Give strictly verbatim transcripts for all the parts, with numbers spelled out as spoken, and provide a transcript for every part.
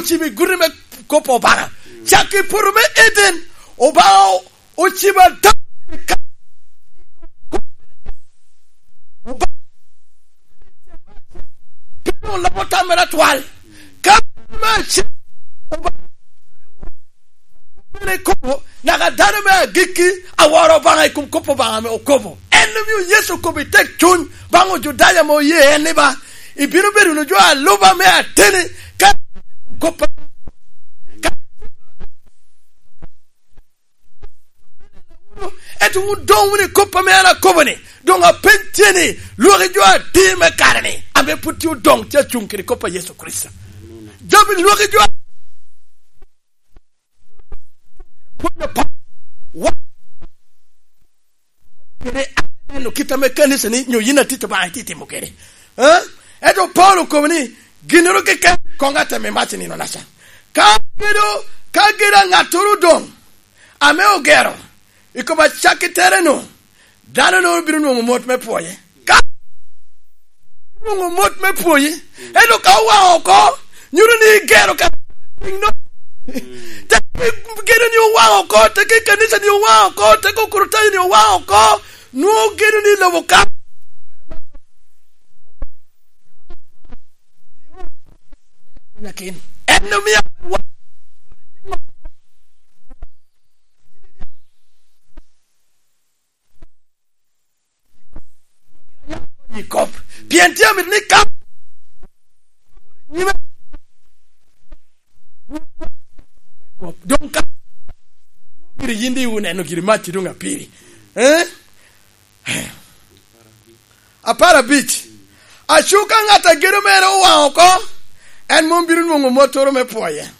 ocibo i guti me kop Obaŋa. Cak i poto me Eden, Obaŋa o-, ocibo Adam. Obaŋa piny oloko tam mere atwal. Ka me acel, Obaŋa bene kobo, naka dano me agikki aworo Obaŋa i kom kop Obaŋa ame okobo. En omio Yecu okobo i tek cuny baŋ Ojudaya ame oye en ni ba, ibino bedo wunu jo aluba me ateni ka kop. Ento wun doŋ wunu i kop ame an akobo ni, doŋ apeny tye ni, lwaki jo adi me kare ni, ame pwod tye odoŋ tye acuŋ kede kop a Yecu Kricito? Jabi lwaki jo a-, pwony apak. Wa-, kede aneno kit ame kanica ni, nyo yin atit Obaŋa itye timo kede. Eh? Ento Paulo okobo ni, ginnoro keken koŋ atem i mac i nino-naca. Ka gedo, ka gedo a ŋattoro odoŋ, ame ogero, i kom acakki tere-nu, dano-nu bino nwoŋo mot me pwoye. Ka nwoŋo mot me pwoye, ento ka owaŋ oko, nyuto ni igero ka piny-nu. Te gedo ni owaŋ oko, te ke kanica ni owaŋ oko, te ke Okricitayo ni owaŋ oko, nwoŋo gedo ni lobo ka. En omio i kop. Pien tye amito ni ka nyime kop, doŋ ka giri yin di wuneno giri mac doŋ apiri. Eh? Apar abic. Aco ka ŋat a gedo mere owaŋ oko, en mom bino nwoŋo mottoro me pwoye.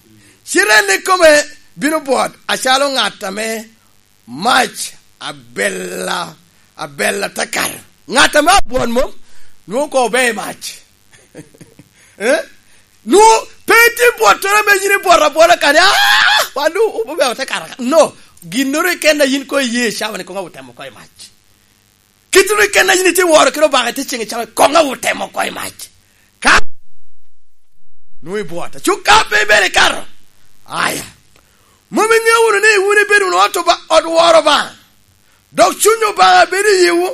Cite en ikome bino bwot acalo ŋat ame mac abella, abella te kato. Ŋat ame abwot mom, nwoŋo koŋ obe i mac. Eh? Nwoŋo pe itye bwottoro ame yin ibwot abwota kadi, "Ah, wan doŋ obebe ote kato ka." No, ginnoro keken a yin koŋ iye i cawa ni koŋ awot temo oko i mac. Kit-tu keken a yin itye woro kede Obaŋa itye ceŋ i cawa, koŋ awot temo oko i mac. Ka nwoŋo ibwot, aco ka pe ibedo ikato, aya. Mom iŋeo wunu ni wun ibedo wunu ot Oba-, ot woro Obaŋa, dok Cuny Obaŋa bedo i yiwu?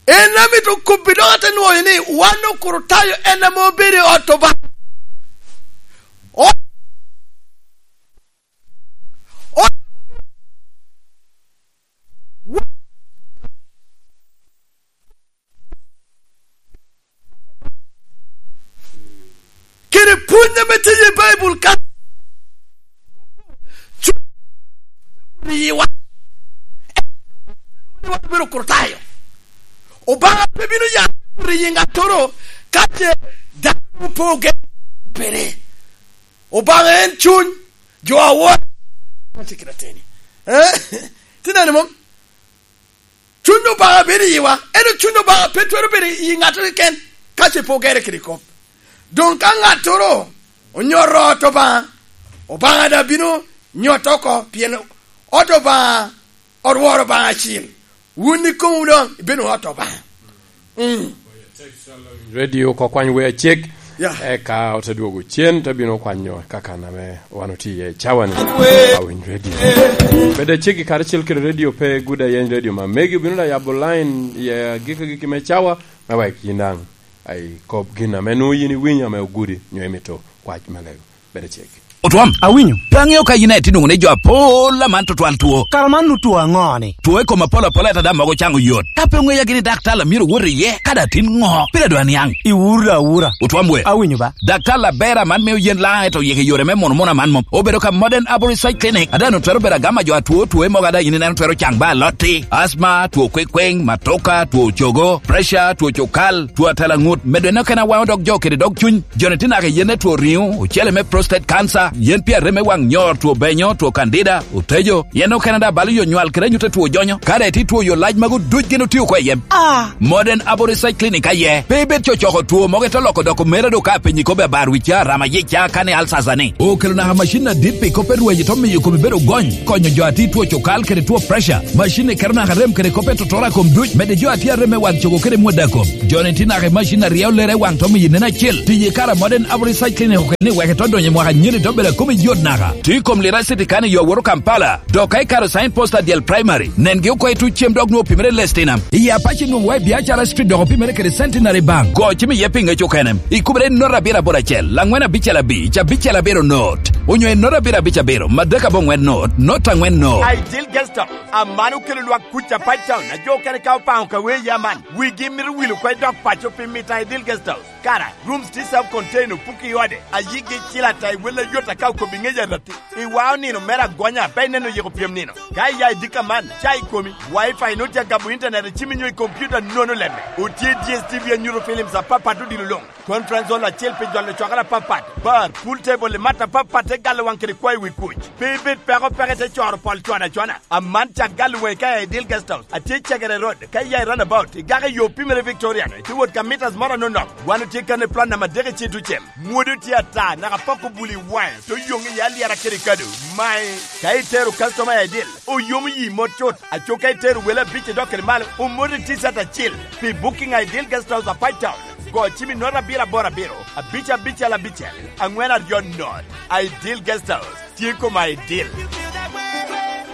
En amito kobbi dok ate nwoyo ni wan Okricitayo en ame obedo i ot Obaŋa. O-, o-, kede pwony ame tye i Baibul ka, cu-, riwa, wan obedo Okricitayo. Obaŋa pe bino ya riyi ŋattoro ka ce dano opo ogen pene. Obaŋa en cuny, jo awor, atye kede ateni. Eh? Tinani mom? Cuny Obaŋa bedo i yiwa, ento Cuny Obaŋa pe twero bedo i ŋattoro keken ka ce pe ogere kede kop. Doŋ ka ŋattoro onyoto ot Obaŋa, Obaŋa daŋ bino nyoto oko, pien ot Obaŋa, ot woro Obaŋa acil. Wun ikomwu doŋ ibedo ot Obaŋa. Mm. Radio oko kwany wer acek. Yeah. Eka ote dwogo cen, te bino kwanyo kakan ame wan otye iye i cawa-ni. Awiny Radio. Bed aceggi karacel kede radio pe gudo ayeny radio ma megi obino da yabo line i agikki agikki me cawa, me wek yin daŋ ai kop gin ame nwoŋo yin iwinyo ame ogudi, nyo imito kwac me lego. Bed aceggi. Otwom, awinyo. Pe aŋeo ka yin aye tye nwoŋo ni jo apol aman tutwal two. Kara man nu two aŋo-ni? Two i kom apol apol, ento daŋ mogo caŋo yot. Ka pe oŋeya gini daktar a myero wot iye, ka daŋ tin ŋo? Pire dwa niaŋ. Iwura awura. Otwom we. Awinyo ba. Daktar aber aman mio yen laŋ, ento yeke yore me mono mono aman mom. Obedo ka Modern Arborist Site Clinic. A daŋ twero bedo agama jo atwo, two mogo a daŋ yin ineno twero caŋ ba alotti. Asma, two kwekweng, matoka, two cogo, pressure, two cukal, two atalaŋut. Medo en okene awaŋo dog jo kede dog cuny. Jo-ni tye naka i yen me two riŋo, ocele me prostate cancer, Yen pi arem me waŋ nyor, two benyo, two kandida, otejo, yen okene daŋ balo yo nywal kede anyut a two jonyo. Ka daŋ itye two yo lac magu duc gin otio oko i yem. Ah! Modern Herbal Research Clinic aye. Pe ibed cocoko two mogo ite loko doko mere do ka piny ikobe abar wi ca, rama yic ca, kani alsasa ni. Okelo naka macin adit pi kop pe rweny ito miyo komi bedo gony, konyo jo a tye two cukal kede two pressure. Macin ni keto naka rem kede kop pe totora kom duc, medde jo a tye arem me waŋ cogo kede mwada kom. Jo ni tye naka i macin a ryeo lere i waŋ to miyo nen acel. Tiye kara Modern Herbal Research Clinic okelo ni wek ito donyo i mwaka nyeni to bedo a komi yot naka. Tye i kom Lira City kani yo awoto Kampala. Dok ka ikaro sign post adyel primary, nengi oko i tuc cem dok nwoŋo opimere i Lestinam. I Apac inwoŋo wa i Biacara Street dok opimere kede Centenary Bank. Go cim iye pi ŋec okene. Ikubere i not abiro aboro acel, laŋwen abicel abic, abicel abiro not. Onyo i not abiro abic abiro, madek aboŋwen not, not aŋwen not. Ideal Guest House, aman okelo lwak kuc Apac Town, a jo okene ka opaŋo ka wee ya man. Wigi mito wil oko i dok paco pi mito Ideal Guest House. Kara, rooms tye self-contained, opuki i ode, a yigi cil ata i wel ayot aka okobi ŋec aratti. Iwao nino mere agonya, pe ineno yiko pyem nino. Ka iya i dika man, ca i komi, Wi-Fi nut ya gabo internet i cimi nyo i computer nono lemme. Otye D S T V anyuto films apapat odilo luŋ. Conference hall acel pi jolo cwakere apapat. Bar, pool table i mat apapat te galo waŋ kede kwayo wi kuc. Pe ibed peko peke te coro pol cwana cwana. Aman ca galo waŋi ka iya i Dil Guest House. Atye i Cegere Road, ka iya i roundabout, igako i yo pimere Victoria, ite wot ka meters moro anonok. Wan otye kan i plan namba adek i Ceddu Cem. Mwodo tye ata, naka pok obuli waŋe, to yoŋ i alyera kede kado. Mae, ka itero customer i Dil, oyomo yi mot cut. Aco ka itero wele abic i dok kede malo, omoti T-shirt acil. Pi booking i Dil Guest House Apac Town, go cim i not abiro aboro abiro, abic abicel abicel, aŋwen aryo not. I Dil Guest House, tye koma i Dil.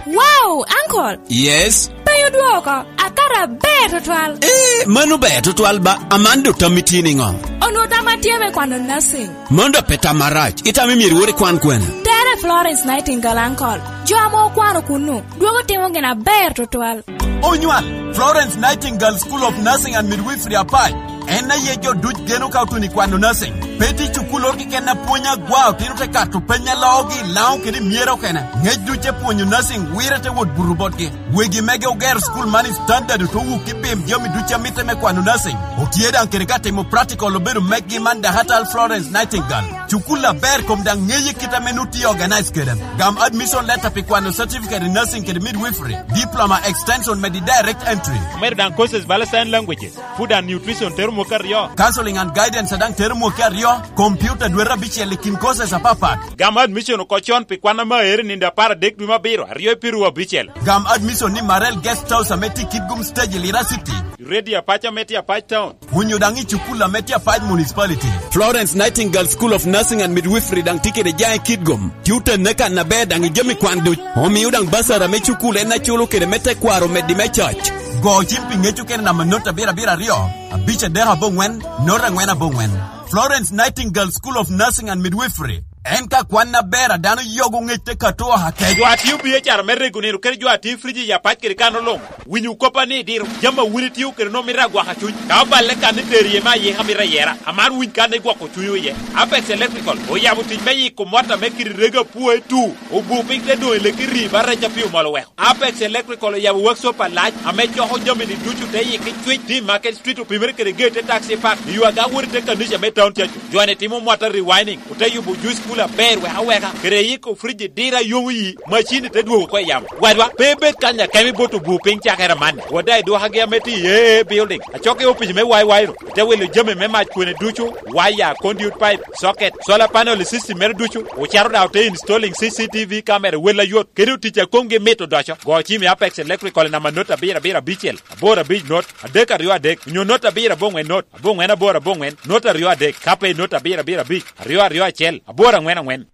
Wow, uncle! Yes? Pe odwoko, akato aber tutwal. Eh, mano ber tutwal ba, aman do tammi tye niŋo? Onwo tam atye me kwano nursing. Mano do pe tam marac, itamo myero iwor ikwan kwene? Tere Florence Nightingale, uncle. Jo ame okwano kunnu, dwogo timo gin aber tutwal. Onywal, Florence Nightingale School of Nursing and Midwifery Apac. En aye jo duc geno ka otun i kwano nursing. Pe tye cukul oro keken apwony agwa, otino te kato peny a loogi i Laŋo kede i Myero okene. Ŋec duc te pwonyo nursing, wire te wot buto botgi. Wegi mege ogero cukul man i standard, oto wuk i pim jami duc a mitte me kwano nursing. Otye daŋ kede ka timo practical obedo meggi man dakatal Florence Nightingale. Cukul aber kom daŋ ŋeye kit ame nut tye organize kede. Gam admission letter pi kwano certificate in nursing kede midwifery, diploma extension medi direct entry. Omedo daŋ courses bala sign languages, food and nutrition tero mwaka aryo. Counseling and guidance daŋ tero mwaka aryo, computer dwete abicel i kin courses apapat. Gam admission oko con pi kwan ame aero i nino apar adek dwe me abiro, aryo i piru abicel. Gam admission ni Marel Guest House ame tye i Kitgum Stage i Lira City. Radio Apac ame tye Apac Town. Onyo daŋ i cukul ame tye Apac Municipality. Florence Nightingale School of Nursing and Midwifery daŋ tye kede jaŋ i Kitgum. Tye otenne kan aber daŋ i jami kwan duc. Omio daŋ basara me cukul en aculo kede me tekwaro meddi me coc. Go cim pi ŋec okene namba not abiro abiro aryo, abic adek aboŋwen, not aŋwen aboŋwen. Florence Nightingale School of Nursing and Midwifery. En ka kwan aber a dano yogo ŋec te kato oha kec. Jo a tio B H R me rego nino kede jo a tio friji ya pac kede kano luŋ. Winyo koppa ni diro jami a wun itio kede nwoŋo mito agwaka cuny. Ka oballe kan ni tero iye me ayika mito ayera, aman winy kan ni gwoko cuny iye. Apex Electrical oyabo tic me yiko mot ame kiri rego apwoe tu. Obu piny te doŋ i leki rii ba rec a pi omol oweko. Apex Electrical oyabo workshop alac ame coko jami ni ducu te yiki cwic. Tye i Market Street opimere kede gate te taxi park. I yo aga wot i te kanica me town cacu. Jo ni timo mota rewinding. Ote yubo juice cooler aber weka weka. Kede yiko fridge dira yomo yi. Macini te dwogo oko i yamo. Wadwa, pe ibed kanya kemi bot obu piny cakere amanni. Wada i dwokagi ame tye i A A building. Acok i opic me Y Y ro. Ite wilo jami me mac kwene ducu, waya, conduit pipe, socket, solar panel system mere ducu, ocato daŋ ote installing C C T V camera wel ayot, kede otic a komgi mit odoco. Go cim i Apex Electrical i namba not abiro abiro abicel, aboro abic not, adek aryo adek, onyo not abiro abongwen not, abongwen aboro abongwen, not aryo adek, ka pe i not abiro abiro abic, aryo aryo acel, aboro angwen angwen.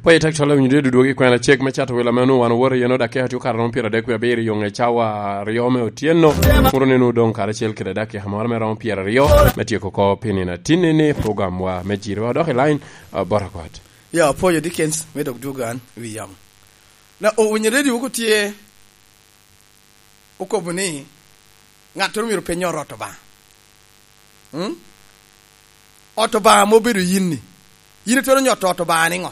Pwony i tak cwalo winyo dwe dudwogi kwena cek me cato welo ame onwoŋo wan owoto iye, onwoŋo dakika tye okato romo pyeraryo dek wie abiro i yoŋe cawa aryo me otyeno. Muro ni onwoŋo doŋ karacel kede dakika moro me romo pyeraryo me tyeko oko pi nino atinni ni programwa me Jiriwa. Dok i line, ah, bota kwat. Ya, apwoyo Dickens me dok dwogo an wi yamo. Na, owinyo radio wok otye okobo ni, "Ŋattoro myero peny ot Obaŋa." Mm? Ot Obaŋa ame obedo yin-ni, yin itwero nyoto ot Obaŋa niŋo?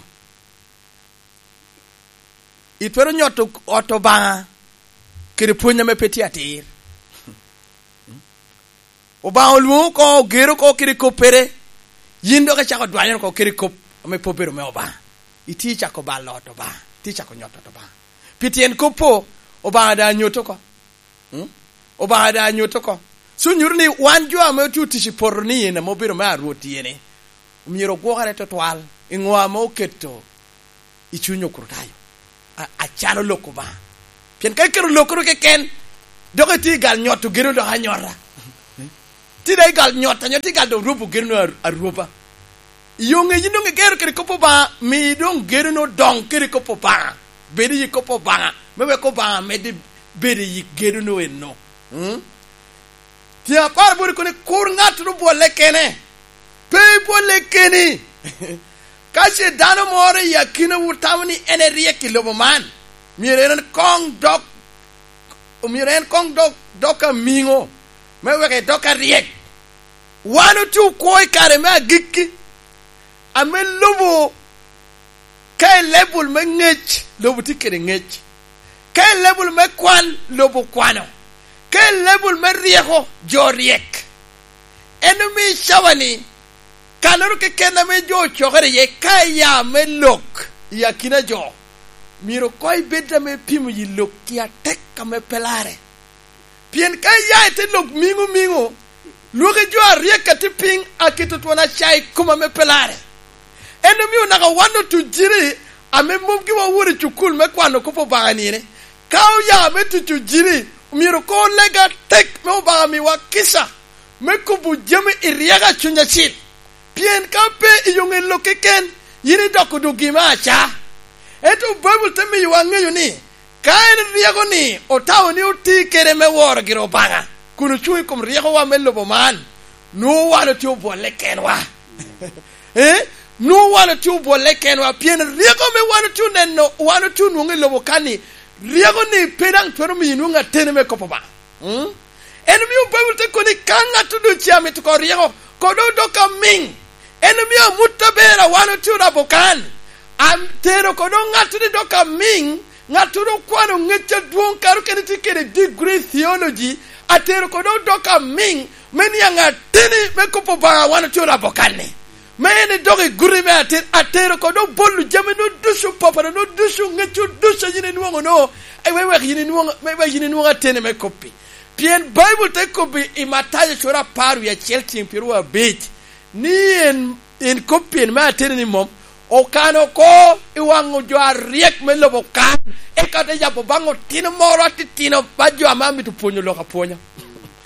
Itwero nyoto ot Obaŋa kede pwony ame pe tye atir. Obaŋa olwoŋo oko, ogero oko kede koppere. Yin dok icako dwanyoro oko kede kop ame pe obedo me Obaŋa. Itye icako balo ot Obaŋa, itye icako nyoto ot Obaŋa. Pi tyen kop-po, Obaŋa daŋ anyot oko. Mm? Obaŋa daŋ anyot oko. So nyuto ni wan jo ame otye otic i poto ni en ame obedo me a Rwot iye ni, omyero ogwokere twatwal i ŋo ame oketo i cuny Okricitayo, a-, acalo lok Obaŋa. Pien ka iketo lokoro keken, dok itye i gal nyoto gedo dok anyota. Tye daŋ i gal nyot, anyo tye i gal dok rwobo gedo a-, arwoba. I yo ŋe yin doŋ igero kede kop Obaŋa, mi doŋ gedo-nu doŋ kede kop Obaŋa. Bed i kop Obaŋa, me wek Obaŋa medde bedo i gedo-nu eno. Mm? Tye apar bot kono ni, "Kur ŋattoro bwolle kene." Pe ibwolle keni. Ka ce dano moro i akinawu tamo ni en eryek i lobo man, myero en koŋ dok, myero en koŋ dok, dok amiŋo, me wek edok aryek. Wan otye okwo i kare me agikki, ame lobo ka i level me ŋec, lobo tye kede ŋec. Ka i level me kwan, lobo kwano. Ka i level me ryeko, jo ryek. En omio i cawa-ni, kannoro keken ame jo ocokere iye, ka iya me lok i akina jo, myero koŋ ibed ame ipimo yi lokki atek ame pe larre. Pien ka iya i te lok miŋo miŋo, lwaki jo aryek a tye piny aketo twon aca i kom ame pe larre. En omio naka wan otuciri ame mom giwa owoto i cukul me kwano kop Obaŋa nine, ka oya me tuco jiri, myero koŋ oleg atek me Obaŋa miwa kica me kobo jami i ryeko a Cuny Acil. Pien ka pe i yo ŋe lok keken, yin idoko dogi me aca. Ento Baibul te miyowa ŋeyo ni, ka en ryeko-ni otao ni oti kede me woro gire Obaŋa, kun ocuŋ i kom ryekowa me lobo man, nwoŋo wan otye obwolle kenwa. Eh? Nwoŋo wan otye obwolle kenwa, pien ryeko ame wan otye oneno, wan otye onwoŋo i lobo kan-ni, ryeko-ni pe daŋ twero miyo inwoŋ ateni me kop Obaŋa. Mm? En omio Baibul te kobo ni ka ŋat doŋ ce amito ko ryeko, kono doŋ dok amiŋ. En omio amut aber a wan otye orabo kan, atero kono ŋat ni dok amiŋ, ŋattoro okwano ŋec adwoŋ, kare okene tye kede degree theology, atero kono dok amiŋ, me niaŋ ateni me kop Obaŋa wan otye orabo kan-ni. Me en edok i guti me atin, atero kono bolo jami-nu ducu, papara-nu ducu, ŋec-cu ducu a yin inwoŋo-nu, e, me wek yin inwoŋ, me wek yin inwoŋ ateni me kop-pi. Pien Baibul te kobbi i Matayo cura apar wie acel cen pyeraryo abic, ni en, en kop pien me ateni ni mom okano oko i waŋ jo aryek me lobo kan, eka te yabo baŋ otino moro atitino ba jo ame amito pwonyo lok apwonya.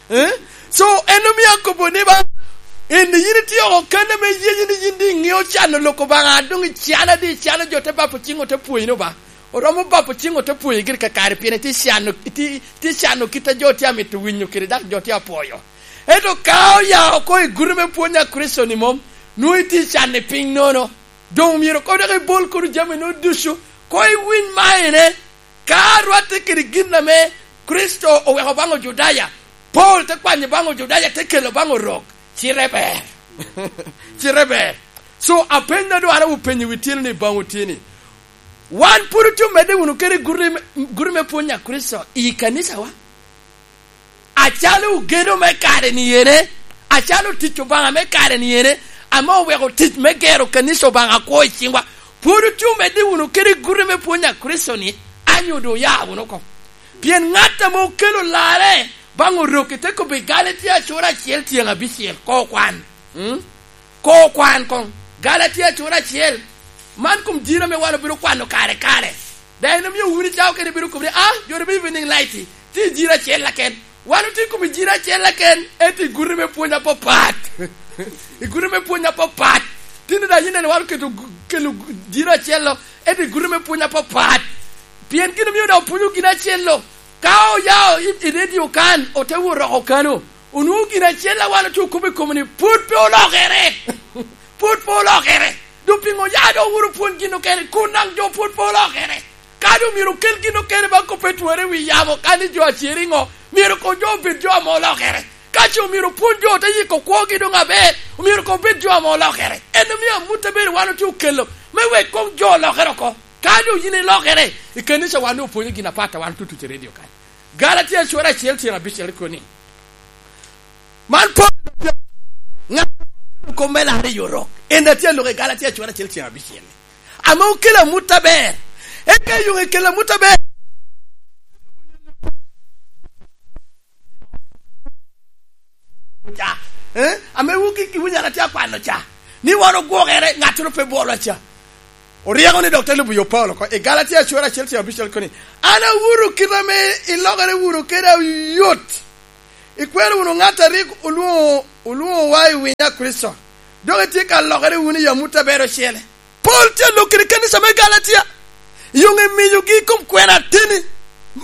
Eh? So, en omio akobo ni ba, en yin itye oko kan ame yeyi ni yin di iŋeo cano lok Obaŋa, doŋ icana di, icano jo te bapo ciŋ ote pwoyino ba. Oromo bapo ciŋ ote pwoyi gire kakare, pien itye cano, itye, itye cano kit a jo tye amito winyo kede, dok jo tye apwoyo. Ento ka oya oko i guti me pwony a Kricito ni mom, nwoŋo itye cano i piny nono. Doŋ myero koŋ dok ibol kono jami-nu ducu, koŋ iwiny maine. Ka rwatte kede gin ame Kricito oweko baŋ Ojudaya, Paulo te kwanyo baŋ Ojudaya, te kelo baŋ Orok. Cite ber. Cite ber. So, apeny na dwaro openyo wi tyeno ni baŋ otye ni, wan pwod otye omedde wunu kede guti me, guti me pwony a Kricito i kanicawa? Acalo ogedo me kare-ni ene, acalo tic Obaŋa me kare-ni ene, ame oweko tic me gero kanica Obaŋa akwo i ciŋwa, pwod otye omedde wunu kede guti me pwony a Kricito-ni, anyo doŋ oya wunu oko. Pien ŋat ame okelo larre baŋ Orok i te kobbi Galatia cura acel tyen abicel, ko kwan. Mm? Ko kwan koŋ. Galatia cura acel. Man kom jiro ame wan obino kwano kare kare. Daŋ en omio wun icao kede bino kobo ni, "Ah, jo me Evening Light, tye i jiro acel aken." Wan otye kom i jiro acel aken, ento i guti me pwony apapat. I guti me pwony apapat. Tino daŋ yin neno wan oketo gu-, kelo gu-, jiro acel-lo, ento i guti me pwony apapat. Pien gin omio daŋ opwonyo gin acel-lo. Ka oyao i, i redio kan, ote wot oko kano. Onwoŋo gin acel a wan otye okobo i kome ni pwod pe olokere. Pwod pe olokere. Doŋ piŋo ya doŋ owuro pwony gin okene, kun daŋ jo pwod pe olokere? Ka doŋ myero okel gin okene ba kop pe twere i wi yamo, ka ni jo acer iŋo? Myero koŋ jo obed jo ame olokere. Ka ce omyero opwony jo te yiko kwogi doŋ aber, omyero koŋ obed jo ame olokere. En omio amut abedo wan otye okelo, me wek koŋ jo olokere oko. Ka doŋ yin ilokere, i kanisa wan doŋ opwonyo gin apat a wan tutuc i redio kan. Galatia cura acel tyen abicel kono ni, man pwod ŋat me larre i orok. En a tye aloko i Galatia cura acel ceng abicel. Ame okelo amut aber. Eka yo ekelo amut aber. Ca. Eh? Ame wuki ki wunyara tye akwano ca. Ni wan ogwokere, ŋattoro pe bwolwa ca. Oryeko ni dok te lubo yo Paulo oko. I Galatia cura acel ceng abicel koni, "An awuro kite ame ilokere wunu kede ayot. Ikwero wunu ŋat a rik olwoŋo, olwoŋowa i winyo a Kricito. Dok itye ka lokere wunu i amut aber ocele." Pol tye alok kede kanisa me Galatia. Yoŋ emiyogi i kom kwena ateni,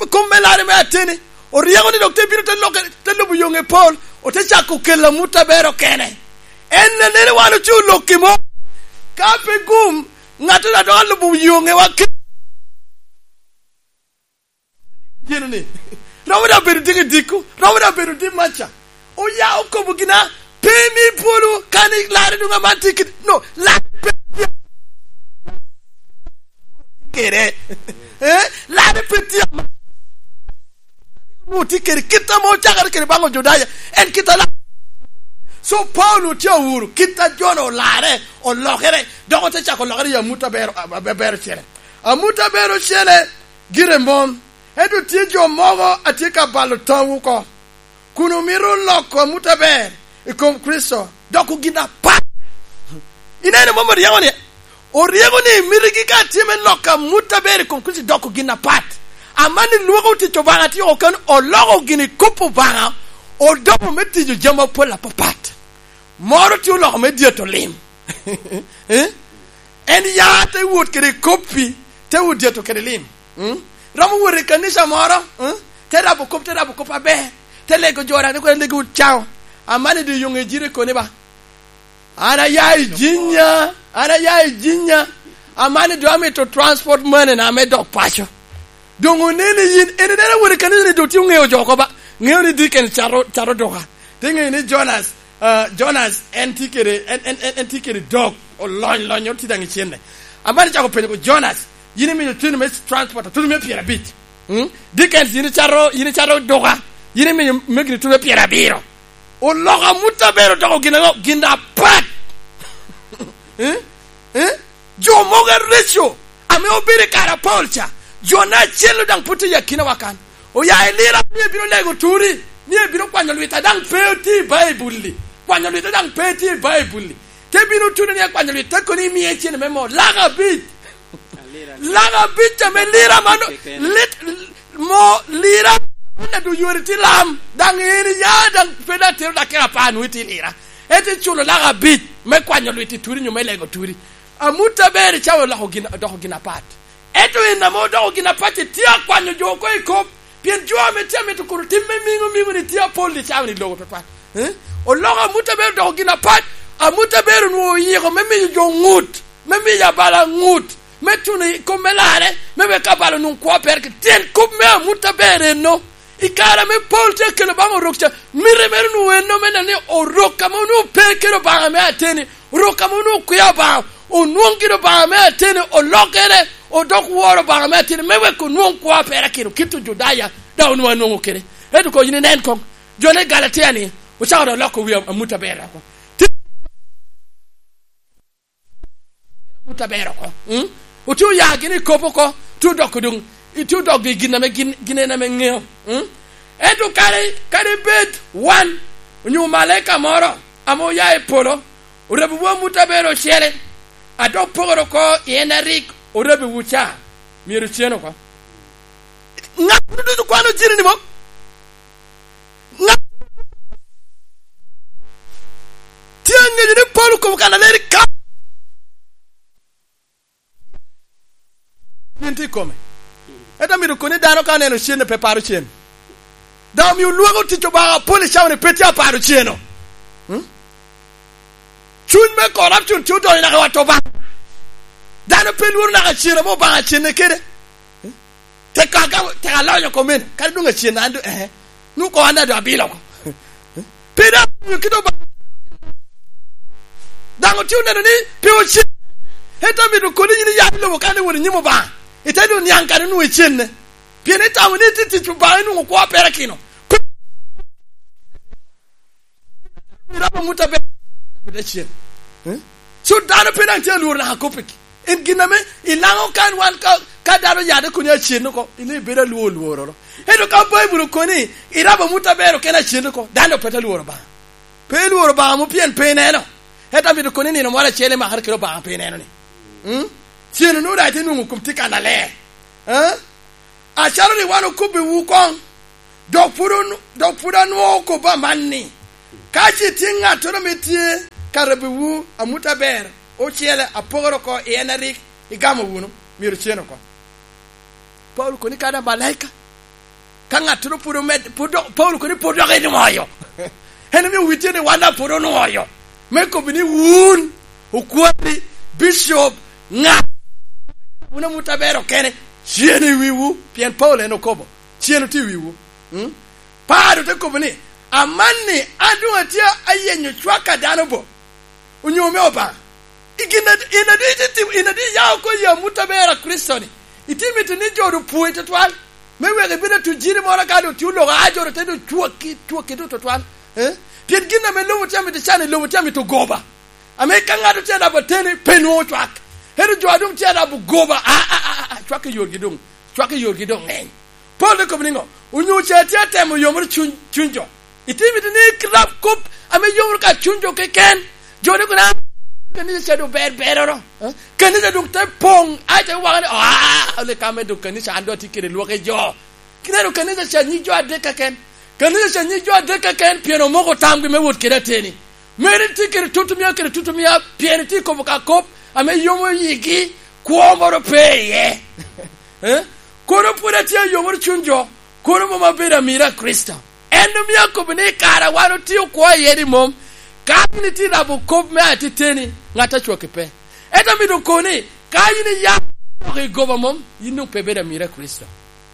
kom me larre me ateni. Oryeko ni dok te bino te lokke, te lubo yoŋe Pol, ote cako kelo amut aber okene. En anene wan oce olok i mo. Ka pe gum, ŋattoro a dok alubo yoŋewa ke-, gino ni, romo da bedo diki diko, romo da bedo di maca. Oya okobo gina, pe mi polo, kan i larre doŋ aman tye kede, no, larre pe tye kede. Eh? Larre pe tye aman. Onwoŋo tye kede kit ame ocakere kede baŋ Ojudaya, en kit a la-, so Paulo tye awuro kit a jo-nu olarre, olokere, dok ote cako lokere i amut aber, aber ocele. Amut aber ocele gire mom, ento tye jo mogo a tye ka balo tamwu oko, kun omito loko amut aber i kom Kricito doko gin apat. Ineno mom oryeko ni, oryeko ni mitigi ka tye me loko amut aber i kom Kricito doko gin apat. Amanni lwoko tic Obaŋa tye oko kano, oloko gin i kop Obaŋa, odoko me tiyo jami apol apapat. Moro tye oloko me dyeto lim. Eh? En ya te wot kede i koppi, te wot dyeto kede lim. Mm? Romo wot i kanisa moro, mm? Te rabo kop, te rabo kop aber. Te lego jo daŋ, ni kono lego wot caŋo. Amanni doŋ yoŋe jire koni ba. An aya i Jinya, an aya i Jinya. Amanni doŋ amito transport money na me dok paco. Doŋ oneni yin, en ineno wot i kanisa ni doŋ tye oŋeo jo oko ba. Ŋeo ni Dickens cato, cato duka. Te ŋeyo ni Jonas, ah, Jonas en tye kede, en, en, en, en tye kede dog, olony, lony, tye daŋ i cenne. Amanni cako penyo ko, "Jonas, yin imiyo tuno me transport, tuno me pyerabic. Mm? Dickens, yin icato, yin icato duka, yin imiyo megini tuno me pyerabiro." Oloko amut aber odoko gin aŋo? Gin apat. Eh? Eh? Jo mogo areco ame obedo i kare a Paulo ca, jo-na acel-lu daŋ pwod tye i akinawa kan. Oya i Lira, ni ebino lego turi, ni ebino kwanyo lwita daŋ pe otye i Baibul-li. Kwanyo lwita daŋ pe tye i Baibul-li. Te bino tuno ni ekwanyo lwita, kono imie cene me mo. Lak abic. Lak abic ame Lira mano, lit, mo Lira, mano doŋ yore tye lam. Daŋ en iya, daŋ pe daŋ tero dakika apar nwoŋo itye i Lira. Ento iculo lak abic me kwanyo lwit i turi nyo me lego turi. Amut aber icawa oloko gin, odoko gin apat. Ento en ame odoko gin apat-ti tye akwanyo jo oko i kop, pien jo ame tye amito kuro tim me miŋo miŋo-ni tye apol i cawa-ni logo twatwal. Eh? Oloko amut aber odoko gin apat, amut aber onwoŋo oyiko me miyo jo ŋut, me miyo abalo aŋut, me tuno i kom me larre, me wek abalo onwoŋ kwo a pere. Tyen kop me amut aber enno. I kare ame Paulo tye akelo baŋ orok ca, miti mere onwoŋo en ame neno ni orok ame onwoŋo pe kede Obaŋa me ateni, orok ame onwoŋo kwia Obaŋa, onwoŋo gin Obaŋa me ateni, olokere, odok woro Obaŋa me ateni, me wek onwoŋ kwo a perakino, kit Ojudaya daŋ onwoŋo anwoŋo kede. Ento koŋ yin inen koŋ, jo me Galatia-ni ocako dok loko wi amut aber oko. Amut aber oko. Mm? Otye oya gin i kop oko, tye odoko doŋ, tye odoko i gin ame gin, gin en ame ŋeo. Mm? Ento kadi, kadi bed wan, onyo omalaika moro ame oya i polo, orabiwu amut aber ocele, a dok pokere oko i en a rik orabiwu ca, myero ocen oko. Ŋat ducu kwano jini ni mom? Ŋat tye aŋeyo ni Paulo okobo kan aleri ka nin tye i kome. Ento amito koni dano ka oneno cen pe paro cen. Daŋ omio lwak otic Obaŋa apol i cawa-ni pe tye aparo ceno. Hmm? Cuny me corruption tye odonyo naka i wat Obaŋa. Dano pe lworo naka cen ame Obaŋa cenne kede. Hmm? Tek ka, tek alonyo komene, kadi doŋ acen an doŋ, eh, nwoŋo koŋ an daŋ doŋ abilo oko. Pe daŋ omiyo kite Obaŋa. Daŋ otye oneno ni pe ocen. Ento amito koni yin iya i lobo kan iwot i nyim Obaŋa, ite doŋ niaŋ kan onwoŋo icenne. Pien itamo ni itye tic Obaŋa inwoŋo kwo a perakino. Irabo amut aber, abita cen. Eh? So dano pe daŋ tye alworo naka koppigi. En gin ame i Laŋo kan wan ka, ka dano yade kun ya cen oko, in ibedo alwor lwororo. Ento ka Baibul okoni, irabo amut aber okene acen oko, dano pe te lworo Obaŋa. Pe ilworo Obaŋa mo pien pe ineno. Ento amito koni nino moro acel imakere kede Obaŋa pe ineno ni. Mm? Cen onwoŋo daŋ ite nwoŋo kom tye kannaler. Eh? Acalo rik wan okobbiwu koŋ, dok pwod onu-, dok pwod anwoŋo kobbi amanni, ka ce tye ŋattoro ame tye ka rabbiwu amut aber ocele apokere oko i en a rik igamo wunu, myero cen oko. Paulo koni kadi amalaika, ka ŋattoro pwod omed-, pwod dok, Paulo koni pwod dok enwoyo. En omio wi tye ni wan daŋ pwod onwoyo. Me kobbi ni wun, okwari, bicop, ŋat, wun amut aber okene, cen i wiwu, pien Paulo en okobo, cen otye i wiwu. Mm? Paulo te kobo ni, "Amanni an doŋ atye ayenyo cwak a dano bo, onyo me Obaŋa?" I gin ad-, in adi itye tim-, in adi iya oko i amut aber a Kricito-ni? Itye mito ni jo doŋ pwoi tutwal, me wek ibed atujiri moro ka doŋ tye oloko a jo doŋ te doŋ cwaki, cwaki doŋ tutwal? Eh? Pien gin ame lobo tye amito can, i lobo tye amito goba. Ame ka ŋat otye arabo ateni, pe nwoŋo cwak. Ento jo a doŋ tye arabo goba, a, a, a, a, a, cwak i yorgi doŋ, cwak i yorgi doŋ ŋeny. Paulo te kobo niŋo? Onyo ce atye atemo yomoro cuny, cuny jo? Itye mito ni irab kop ame yomoro ka cuny jo keken? Jo ni kono, "Ah, kanisa ca doŋ ber beroro, eh? Kanisa doŋ te poŋ, ai, te waka ni, ah, ole ka me doŋ kanisa an doŋ atye kede lwak i jo." Kineno kanisa ca nyig jo adek keken. Kanisa ca nyig jo adek keken pien omoko tamgi me wot kede ateni. Meri tye kede tutumia, kede tutumia, pien itye kobo ka kop ame yomo yigi, kwo moro pe iye. Eh? Kono pwod atye ayomoro cuny jo, kono mom abedo amiro a Kricito. En omio akobo ni i kare a wan otio kwo iye ni mom, ka yin itye rabo kop me atiteni, ŋat a cwaki pe. Ento amito koni, ka yin iya dok i goba mom, yin doŋ pe ibedo amiro a Kricito.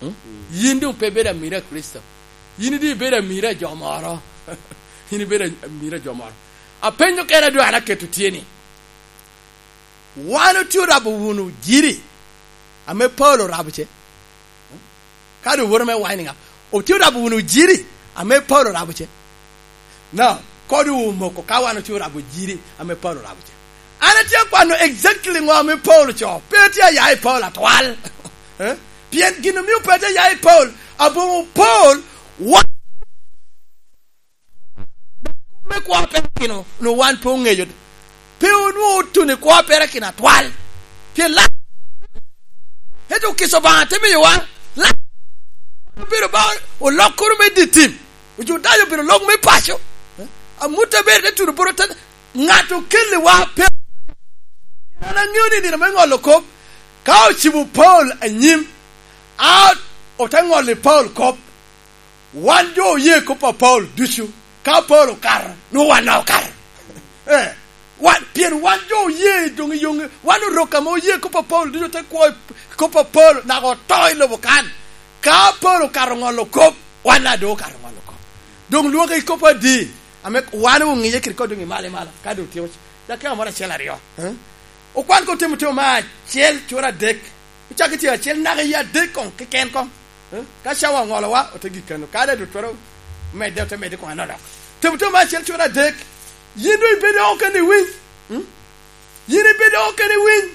Hmm? Yin doŋ pe ibedo amiro a Kricito. Yin doŋ ibedo amiro a jo moro. Yin ibedo amiro a jo moro. Apenyo kena doŋ an aketo tye ni, wan otye orabo wunu jiri ame Paulo orabo ce? Ka doŋ woto me wine up, otye orabo wunu jiri ame Paulo orabo ce? No, kodi omoko ka wan otye orabo jiri ame Paulo orabo ce. An atye akwano exactly ŋo ame Paulo co, pe atye aya i Paulo atwal. Eh? Pien gin omio pe atye aya i Paulo, aboŋo Paulo, wa-, me kwo a perakino, onwoŋo wan pe oŋeyo. Pe onwoŋo otuno i kwo a perakino atwal. Pien la-, ento Okica Obaŋa te miyowa, la-, obedo ba olok kono me dye tim. Ojudaya obedo lok me paco. Eh? Amut aber te tuno bot te, ŋat okelliwa pe. An aŋeo ni nino me ŋolo kop, ka ocibo Paulo anyim, a ote ŋolo i Paulo kop, wan jo oye kop a Paulo ducu, ka Paulo okato, nwoŋo wan daŋ okato. Eh, wan, pien wan jo oye doŋ i yoŋe, wan Orok ame oye kop a Paulo ducu, te kwo i kop a Paulo, naka oto i lobo kan. Ka Paulo okato ŋolo kop, wan daŋ doŋ okato ŋolo kop. Doŋ lwoke i kop adi, ame wan oŋiye kede kodi doŋ i malo i malo, ka doŋ otyeko c-, dakika moro acel aryo. Eh? Okwan kop Timoteo me acel cura adek. Ocako i tyen acel naka i adek koŋ keken koŋ. Eh? Ka cawa oŋolowa, ote gik kano. Ka daŋ doŋ twero medde, ote medde koŋ anodok. Timoteo me acel cura adek. Yin doŋ ibedo oko keni iwiny. Hmm? Yin ibedo oko keni iwiny.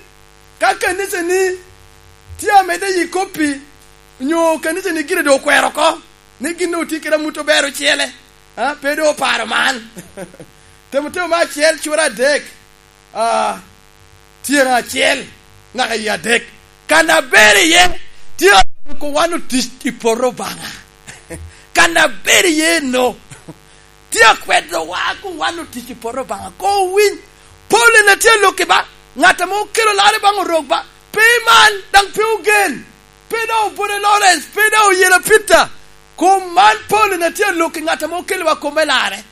Ka kanicani tye amedde i koppi, onyo kanicani gire doŋ okwero oko, ni gin doŋ otye kede amut aber ocele, a, pe doŋ oparo man. Timoteo me acel cura adek. Ah, tyen acel naka i adek. Kan aber iye tye aloko wan otic i poto Obaŋa. Kan aber iye no. Tye akwedowa kun wan otic i poto Obaŋa. Koŋ owiny. Paulo en atye alok i ba. Ŋat ame okelo larre baŋ Orok ba. Pe iman, daŋ pe ogen. Pe daŋ obote Lawrence. Pe daŋ oyela Peter. Kom man Paulo en atye alok i ŋat ame okelowa kom me larre.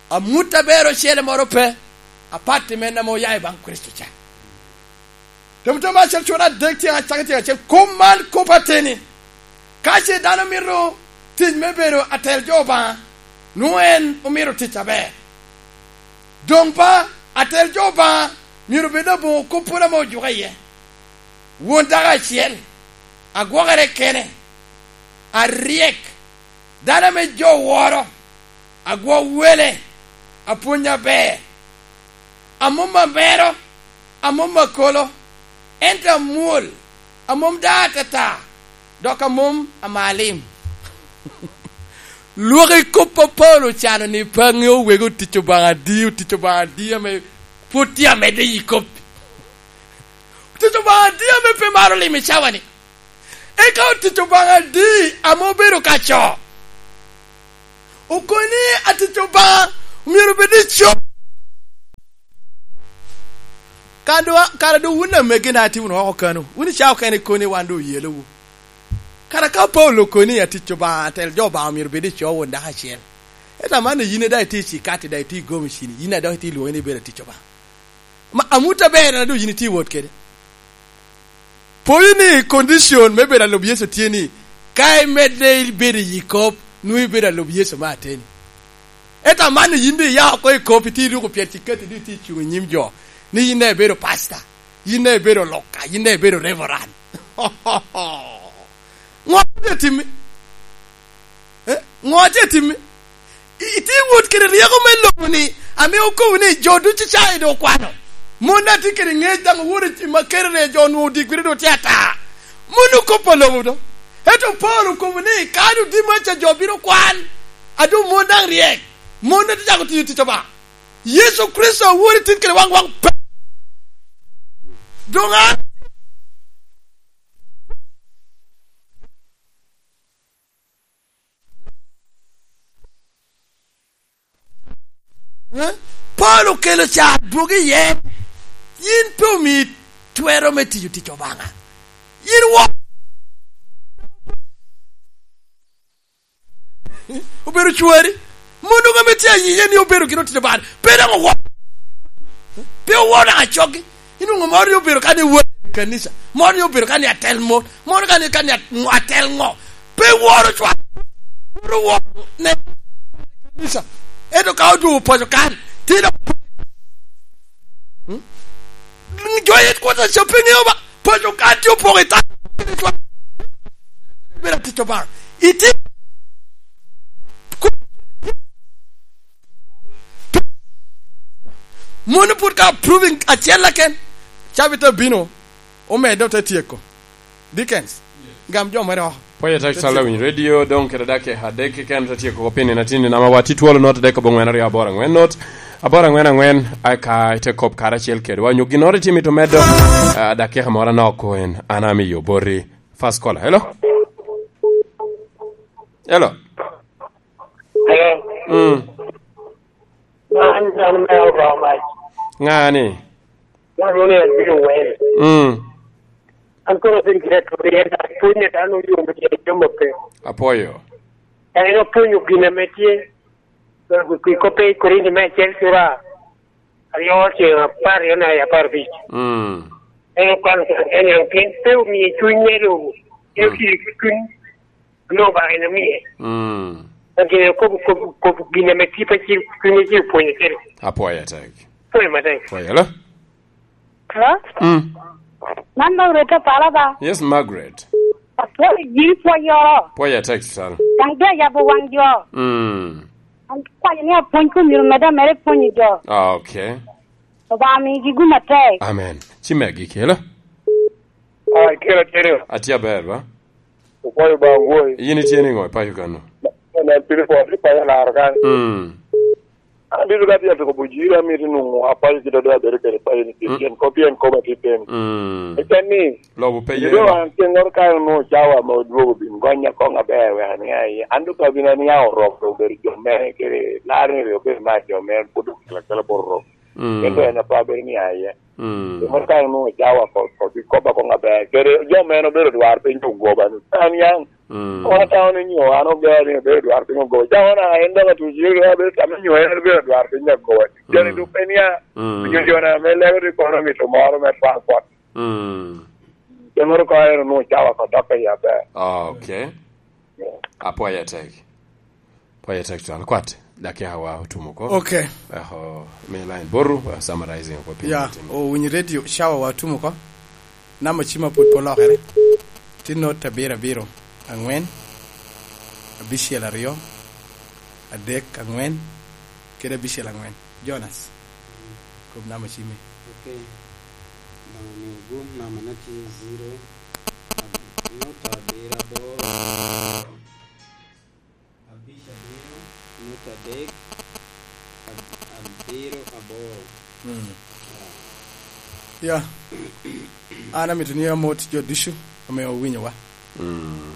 Amut aber ocele moro pe, apat i men ame oya i baŋ Kricito ca. Timoteo me acel cura adek tyen acakki tyen acel, kom man kop ateni. Ka ce dano mito tic me bedo atel jo Obaŋa, nwoŋo en omito tic aber. Doŋ ba, atel jo Obaŋa myero bed aboŋo kop pwod ame ojuke iye. Won dako acel, agwokere kene, aryek, dano ame jo woro, agwo wele, apwony aber, a mom amero, a mom akolo, ento amwol, a mom daŋ atata, dok a mom amalim." Lwak i kop a Paulo ocano ni pe aŋeo wegi otic Obaŋa adi, otic Obaŋa adi ame pwod tye amedde i kop. Otic Obaŋa adi ame pe maro limo i cawa-ni? Eka otic Obaŋa adi ame obedo ka co? Okoni atic Obaŋa myero obed i co. Kan doŋ, kara doŋ wun amegina atye wunu oko kano, wun i cawa okene ikoni wan doŋ oyelowu. Kara ka Paulo okoni atic Obaŋa, atel jo Obaŋa myero obed i co won dako acel. Ento amanni yin daŋ itye i cikati, daŋ itye i gomicini, yin daŋ dok itye i lwoŋi ni ibedo atic Obaŋa. Ma, amut aber na doŋ yin itye i wot kede. Poyo ni condition me bedo alub Yecu tye ni, ka imedde ibedo i yi kop, nwoŋo ibedo alub Yecu me ateni. Ento amanni yin doŋ iya oko i kop, itye iruko pyerciketi, doŋ itye icuŋ i nyim jo, ni yin daŋ ibedo pastor, yin daŋ ibedo oloka, yin daŋ ibedo reverend. Ŋo tye timmi? Eh, ŋo tye timmi? I-, itye wot kede ryeko me lobo-ni, ame okobo ni jo ducu cawa doŋ okwano. Mon daŋ tye kede ŋec, daŋ owoto i ma kere ni jo onwoŋo odikwere doŋ tye ata. Mon okoppo lobo do. Ento Paulo okobo ni, "Ka doŋ Dimacca jo bino kwan, a doŋ mon daŋ ryek, mon daŋ tye cako tiyo tic Obaŋa." Yecu Kricito a Wode tin kede waŋ waŋ pe. Doŋ an Eh? Paulo okelo ca adwogo iye. Yin pe omi twero me tiyo tic Obaŋa. Yin wo obedo cwari. Mono ame tye ayiye ni obedo gin otic Obaŋa. Pe daŋ owo. Pe owo daŋ acoggi. Inwoŋo moro ni obedo ka ni wot i kanisa, moro ni obedo ka ni atel mon, moro ka ni, ka ni at-, atel ŋo. Pe woro cwak, woro woro ne kanisa. Ento ka odwogo paco kan, tye dok, hmm? Jo yet kwota ca pe ŋeo ba, paco kan tye opoko i tam. Bedo atic Obaŋa. Iti-, Mono pwod ka proving acel keken, cabit abino, omedde ote tyeko. Dickens, gam jo mere oko. Pwoyo tek Te Sala tyeko. Winy Radio, doŋ kede dakika adek keken ote tyeko oko piny nino atin nino, ama watti twolo not adek oboŋwen aryo aboro aŋwen not, aboro aŋwen aŋwen, aka ite kop karacel kedwa. Onyo ginnoro itye mito medo, ah, dakika moro anok koen, an amiyo boti. First caller, hello? Hello? Hello? Mm. Man dano me Obaŋa mac. Ŋa ni? Dano ni abino wel. Mm. An kono abin kite to yen apwony ne dano yo me tye jamo pe. Apwoyo. En opwonyo gin ame tye. Kwi kope i Korinti me acel cura aryo ceŋ apar aryo na apar abic. Mm. En okwano kede en, en pien pe omio cuny me lobo. En Mm. otye ki cuny onwoŋo Obaŋa en omie. Mm. Gin okobo, kobo, kobo gin ame tye pe cil, cuny acil pwonyo kede. Apwoyo atek. Pwoyo matek. Pwoyo, hello? Hello? Mm. Man Margaret Opala ba? Yes, Margaret. Apwoyo gin pwoyoro. Pwoyo atek, Susan. Daŋ doŋ ayabo waŋ jo. Mm. An akwayo ni apwony kun myero medde amedde pwonyo jo. Ah, okay. Obaŋa migi gum atek. Amen. Ci me agikki, hello? Ah, kelo, kelo. Atye aber, ba? Opwoyo ba ngwoi. Yin itye niŋo i paco kano? Nen piny pwod i paco laro kan. Mm. An bino ka tye atyeko bujiri, amito nwoŋo apaco kite doŋ abedo kede paco ni tye Mm. tyen kop, pien kop atye teni. Mm. Eken ni, Lobo pe ye. Doŋ an ceŋŋoro ka onwoŋo cawa ame odwogo bin gonya koŋ aber wek aniaŋ iye. An doŋ ka bino aniaŋ orok doŋ obedo jo mere kede laro ni rik obedo mar jo mere pwod okelo akela bot orok. Mm. Ento en ape abedo niaŋ iye. Mm. Pi mano ka onwoŋo cawa ko, ko, bi kobba koŋ aber. Kede jo mene obedo dwar piny ogoba ni, "An yaŋ." Mm. Kono atamo ni nyo an ogero ni obedo dwar piny ogoba. Cawa na en dok atuco, abedo tamo ni nyo en obedo dwar piny ogoba. Joni Mm. dupe nia, Mm. nyo joni ame lego ni kono mito moro me twal kwot. Mm. Pi mano ka en onwoŋo cawa ko dokke i aber. Ah, okay. Yeah. Apwoyo atek. Pwoyo tek twal. Kwat, dakika wa otumo oko. Okay. Eho, mi line boru, uh, summarizing oko piny. Ya, otim. Owinyo radio, cawa wa otumo oko. Namba cima pwod pe olokere. Tye not abiro abiro, aŋwen, abicel aryo, adek aŋwen, kede abicel aŋwen. Jonas. Kop namba cimi. Ok. Bang' ni ogum namba na tye zero, ab-, nota abiro aboro, abic abiro, nota adek, ab-, abiro aboro. Mm. Ya. An amito ni amot jo ducu ame owinyowa. Mm.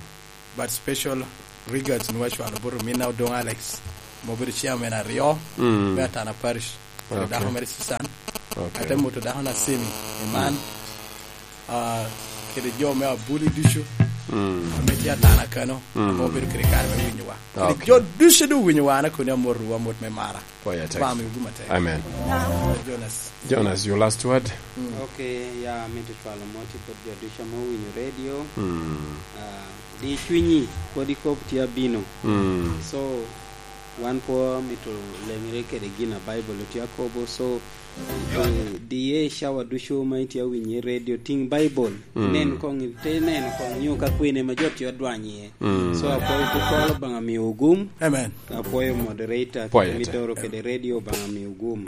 But special regards ni wacwalo bot ominna Odong Alex, ma obedo chairman aryo, mm, me Atana Parish, kede, okay, dako mere Susan. Okay. Ate moto dako na Semi, Iman, mm, ah, kede jo me Abuli ducu, mm, ame tye Atana kano, mm, ame obedo kede kare me winyowa. Kede, okay, jo ducu doŋ winyowa, an akoni amotwu amot me mara. Pwoyo atek. Bam i ogum atek. Amen. Jonas. Jonas, your last word? Mm. Ok, ya, amito cwalo mot i bot jo ducu ame owinyo redio. Mm. Ah, di cwinyi, kodi kop tye abino. Mm. So, wan pwo mito leŋere kede gin a Baibul tye akobo. So, eh, diye i cawa ducu ma itye awinyo i redio, tiŋ Baibul. Mm. Nen koŋ, ite neno koŋ nyo ka kwene ma jo tye odwany iye. Mm. So, apwoyo tutwal, Obaŋa miyo ogum. Amen. Apwoyo moderator, pwoyo ate, kede midoro kede redio, Obaŋa miyo ogum.